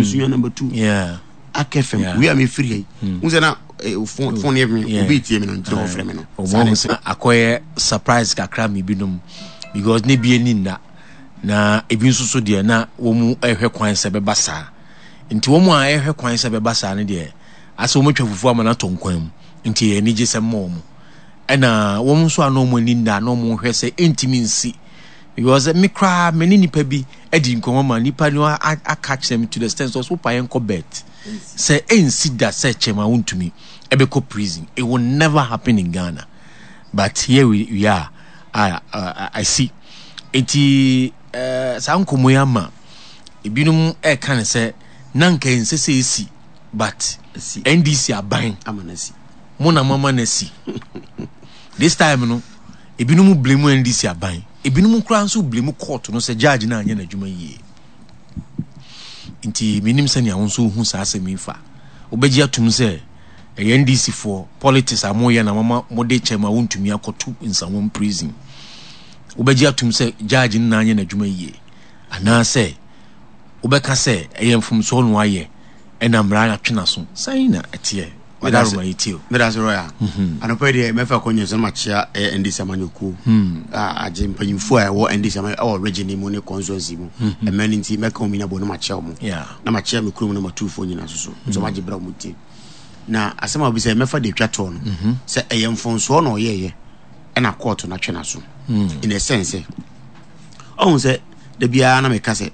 Sunyani number 2. Ark FM. Wei a mefiri ha yi. Wohu sɛ na phone phone yɛ me obi tie me no nti na ɔfrɛ me no. Saa na ɛsɛ. Akɔyɛ surprise kakra ma ebinom because ne bi ani nna na ebi nso so deɛ na wɔn ɛhwɛ kwan sɛ bɛba saa nti wɔn a ɛhwɛ kwan sɛ bɛba saa no deɛ asɛ wɔn atwa fufuo ama no atɔ nkwan mu nti ɛyɛ anigye sɛ mma wɔn ɛna wɔn nso a na wɔn ani nna na wɔn hwɛ sɛ ɛntumi nsi because me koraa me ne nipa bi adi nkɔmmɔ ma nipa no aka kyerɛ me to the extent sɛ ɔso pa yɛn kɔ bet sɛ ɛnsi da sɛ kyɛm a wontumi ɛbɛkɔ prison. It will never happen in Ghana, but here we are. I see. Nti saa nkɔmmɔ yi ama ebinom ɛka ne sɛ na nka ɛnsɛ sɛ ɛsi, but NDC aban mo na mama no asi. This time no, ebinom blame NDC aban, ebinom koraa nso blame court no sɛ judge no anyɛ n'adwuma yie. Nti menim sɛnea wo nso wohu saa asɛm yi fa. Wobɛgye atum sɛ ɛyɛ NDC foɔ politics a moyɛ na mama mode kyɛ ma wontumi akɔto Nsawam prison? Wobɛgye atum sɛ judge no na anyɛ n'adwuma yie, anaasɛ wobɛka sɛ ɛyɛ mfomsoɔ na wayɛ ɛna mmara atwe n'aso? Sɛn na ɛteɛ? Wadaroma yi tie o. Meda ase, Royal. Anɔpa yi deɛ, mɛfa akɔnya sɛ makyea ɛyɛ NDC amanyɔkuo a agye mpanyinfoɔ a ɛwɔ NDC amanyɔ ɛwɔ region mu ne constituency mu. Ɛmɛ no nti mɛka wɔn nyinaa bɔ na makyea wɔn. Na makyea me kurom na matufoɔ nyinaa nso so. Nso magye berɛ a wɔn tie. Na asɛm a wobisa yi, mɛfa deɛ atwa toɔ no. Sɛ ɛyɛ mfomsoɔ na ɔyɛɛyɛ ɛna kɔɔto no atwe n'aso. In a sense sɛ, ɔhu sɛ da biara na meka sɛ,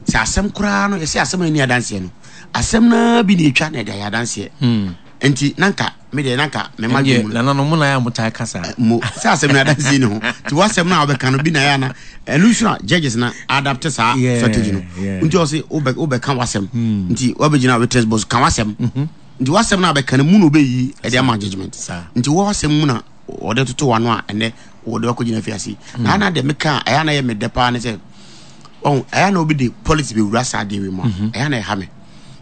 sɛ asɛm koraa no yɛsɛ asɛm a ɛni adanseɛ no, asɛm no bi na ɛtwa na ɛde ayɛ adanseɛ. Nti na nka me deɛ na nka mema dwom no nananom mo na yɛ a motae kasa mo sɛ asɛm no adanseɛ ni ho, nti wasɛm no a wobɛka no bi na ɛyɛ ana ɛno nso na judges na adapt saa strategy no. Nti ɔse wobɛka wasɛm, nti wabɛgyina witness box ka wasɛm, nti wasɛm no a bɛka no mu na wobɛyi ɛde ama judgment. Nti wɔ wasɛm mu na wɔde toto wano a ɛnɛ wɔde wakɔgyina afiase. Na ana deɛ meka a ɛyɛ na yɛ medɛ paa ne sɛ ɔn ɛyɛ na obi de politics bɛwura saa adeɛ wei mu a, ɛyɛ na ɛha me.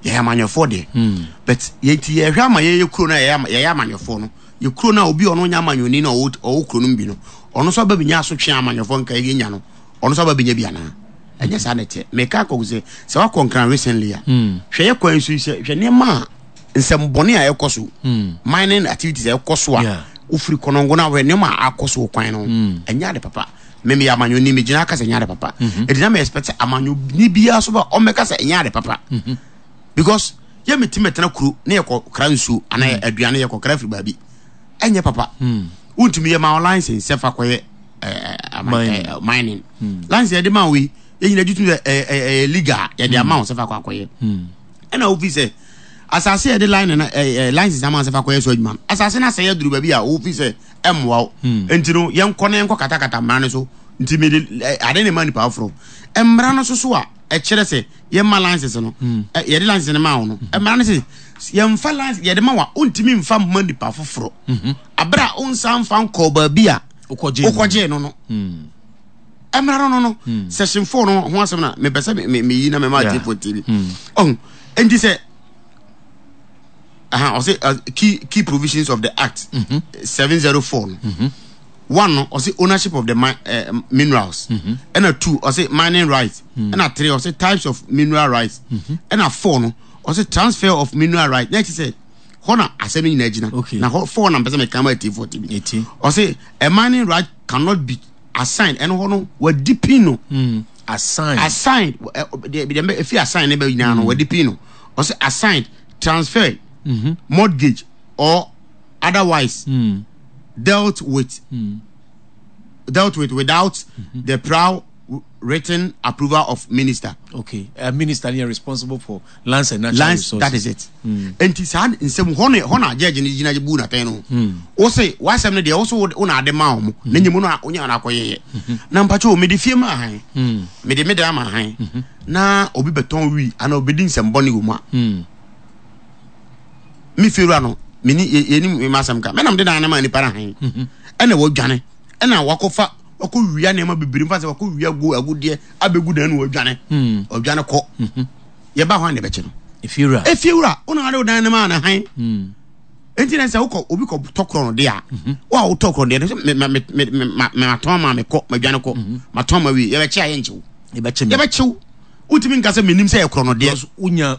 Yɛyɛ amanyɔfoɔ deɛ, but yɛnti yɛhwɛ ama yɛyɛ kuro no a yɛyɛ amanyɔfoɔ no, yɛ kuro no a obi a ɔno nyɛ amanyɔni na ɔwɔ kuro no mu bi no, ɔno nso aba bɛnya asotwe a amanyɔfoɔ nka yɛnya no, ɔno nso aba bɛnya bi anaa? Ɛnyɛ saa na ɛteɛ. Meka akɔgu sɛ wakɔ Nkran recently a, hwɛ yɛ kwan so yi, sɛ hwɛ nneɛma a nsɛmbɔne a ɛkɔ so, mining activities a ɛkɔ so a, wofiri Kɔnɔngo no a, hwɛ nneɛma a akɔ so wɔ kwan no ho. Ɛnyɛ ade papa. Me meyɛ amanyɔni, megyina aka sɛ ɛnyɛ ade papa. Ɛdi na me expect sɛ amanyɔni biara so ba ɔmmɛka sɛ ɛnyɛ ade papa. Because yɛ meti mɛtena kuro ne yɛkɔ kra nsuo anaa aduane yɛkɔ kra firi baabi. Ɛnyɛ papa. Wontumi yɛ ma wo license sɛ fa kɔyɛ mining. License yɛde ma wo yi, yɛn nyinaa gye tom sɛ ɛyɛ legal, yɛde ama wo sɛ fa kɔ akɔyɛ. Ɛna wofi sɛ asase yɛde line no license ama wo sɛ fa kɔyɛ so adwuma no, asase no asɛe aduru baabi a wofi sɛ ɛmmoa wo. Nti no yɛnkɔ na yɛnkɔ katakata mmara no so. Nti mede ade ne ma nipa aforo mmara no so so a ɛkyerɛ sɛ yɛma license no, yɛde license no ma wo no, mmara no sɛ yɛmfa license yɛde ma wa wontumi mfa mma nipa foforɔ abere a wonsa mfa nkɔɔ baabi a wokɔgyee no. Mmara no section 4 no ho asɛm na mepɛ sɛ meyi na mema atiefoɔ tie bi. Ɔho nti sɛ aha ɔsɛ key provisions of the act 704 no, one no ɔsɛ ownership of the minerals, ɛna two ɔsɛ mining rights, ɛna three ɔsɛ types of mineral rights, ɛna four no ɔsɛ transfer of mineral rights. Na ɛkyɛ sɛ hɔ na asɛm no nyinaa gyina. Na hɔ four na mpɛ sɛ meka ma atiefoɔ te bi. Ɔsɛ a mining right cannot be assigned, ɛno hɔ no wadi pin no. Assigned. Assigned, deɛ deɛ efi assigned ne bɛ nyinaa no wadi pin no. Ɔsɛ assigned, transferred, mortgage or otherwise dealt with without the prior written approval of minister. Okay, minister ni responsible for lands and natural lands resources. That is it. Nti saa nsɛm hɔ no hɔ na judge no gyina bu n'atɛn no. Wo se w'asɛm no deɛ, wo so wo na ade ma wɔn na nyɛ mu no a wonya na akɔyɛyɛ. Na mpakyɛ o, mede fie ma ahan. Mede me dan ama ahan. Na obi bɛtɔn wi anaa obɛdi nsɛm bɔne wɔ mu a, me fie wura no, meni yɛnim me asɛm ka. Mɛnam de dan no ma nipa no ahan. Ɛna wɔdwane. Ɛna wakɔfa wakɔ wia nneɛma bebree mfa sɛ wakɔ wia go agudeɛ abɛgu dan no, wɔdwane. Ɔdwane kɔ. Yɛba hɔ a na ɛbɛkye no. Efiewura. Efiewura, wo na ade wo dan no ma na han. Nti na sɛ wokɔ obi kɔ tɔ korɔ no de a, wo a wotɔ korɔ no deɛ no sɛ me me me me ma matɔn ma mekɔ madwane kɔ matɔn ma wie, yɛbɛkye a yɛnkyew. Yɛbɛkye me. Yɛbɛkyew. Wotumi nka sɛ menim sɛ yɛ korɔ no deɛ. Because wonya